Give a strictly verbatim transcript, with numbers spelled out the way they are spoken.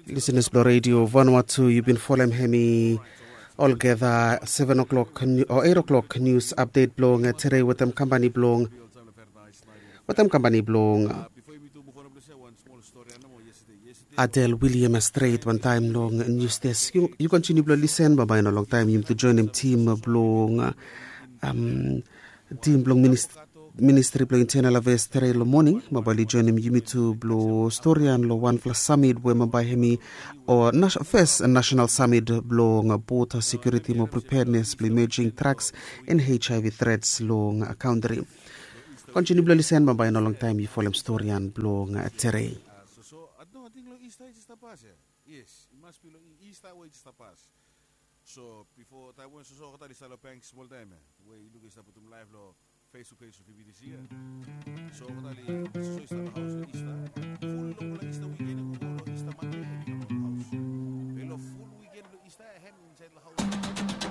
Listeners blong Radio Vanuatu, yu bin folem hemi olgeta seven o'clock o eight o'clock news update blong tere wetem kampani blong wetem kampani blong Adel William stret wantaem long news desk. Yu kontiniu blong lisen, bambae no longtaem yumi tu joinim tim blong tim blong ministri blong internal afeas tere long moning. Bambae oli joinim yumi tu blong storian long wanfala samit we bambae hemi o fes nasenal samit blong bota sekiuriti mo preparednes blong imejing traks en HIV trets long kantri. Kontiniu blong lisen, bambae no longtaem yu folem storian blong tere. Yes, it must be long Easter we just pass. So before that one, so so kata di salo bank small time eh. We you look is putum live lo Facebook page of B B C. So kata di so